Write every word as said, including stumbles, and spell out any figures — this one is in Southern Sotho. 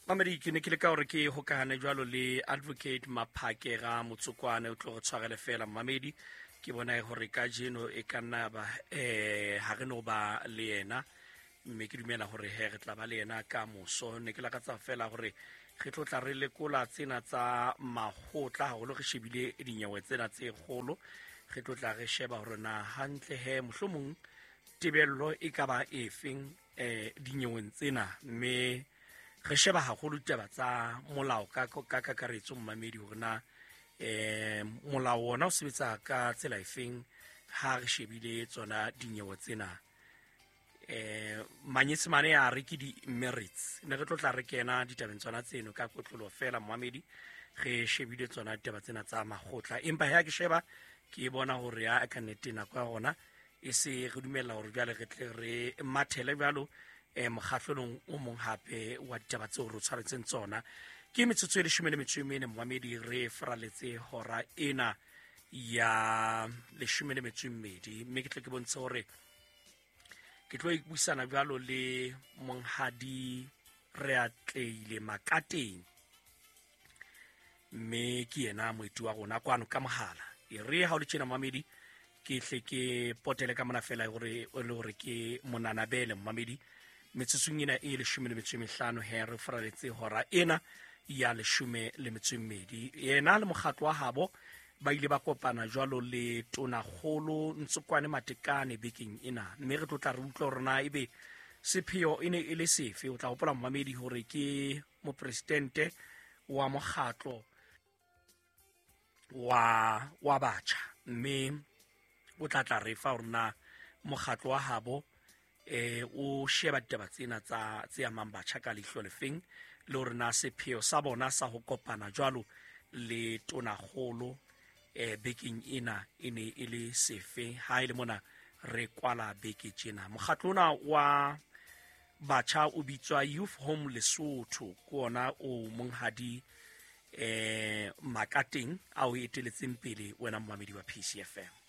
Mamedi, ke ne ke leka hore ke hokahane jwalo le Advocate Maphakera Motsokwane, o tlo re tshwarele fela mamedi. Ke bona hore kajeno e ka nna ba eh ha re no ba le yena, mme ke dumela hore he re tla ba le yena ka moso. Ne ke lakatsa fela hore re tlo tla re lekola tsena tsa makgotla haholo, re shebile dinyewe tsena tse kgolo. Re tlo tla re sheba hore na hantle he mohlomong tebello e ka ba efeng eh dinyeweng tsena, mme re sheba haholo ditaba tsa molao ka ka kakaretso mmamedi, hore na eh molao ona o sebetsa ka tsela efeng ha re shebile tsona dinyewe tsena. Eh manyesemane a re ke di-merits. Ne re tlo tla re kena ditabeng tsona tseno ka kotlolo fela mmamedi, re shebile tsona ditaba tsena tsa makgotla. Empa ha ke sheba ke bona hore ya ka nnete nako ya rona e se re dumella hore jwale re tle re mathele jwalo eh mokgahlelong o mong hape wa ditaba tseo re tshwaretseng tsona. Ke metsotso e leshome le metso e mene mmamedi, re faraletse hora ena ya leshome le metso e mmedi, mme ke tle ke bontshe hore ke tlo buisana jwalo le monghadi Reatleile Makateng, mme ke yena moeti wa rona kwano ka mohala. E re ha o le tjena mmamedi, ke hle ke potele ka mona fela hore o le hore ke monanabele mmamedi. Metsotsong ena e leshome le metso e mehlano he re faraletse hora ena ya leshome le metso e mmedi. Yena le mokgatlo wa habo ba ile ba kopana jwalo le Tonakgolo Ntsokwane Matekane bekeng ena, mme re tlo tla re utlwa hore na ebe sepheo e ne e le sefe. O tla hopola mmamedi hore ke mopresidente wa mokgatlo wa wa batjha, mme o tla tla re fa hore na mokgatlo wa habo eh o sheba ditaba tsena tsa tse amang batjha ka leihlo lefeng, le hore na sepheo sa bona sa ho kopana jwalo le Tonakgolo eh bekeng ena e ne e le sefe. Ha e le mona re kwala beke tjena. Mokgatlo ona wa batjha o bitswa Youth Home Lesotho, ke ona o monghadi eh Makateng a o eteletseng pele wena mmamedi wa P C F M.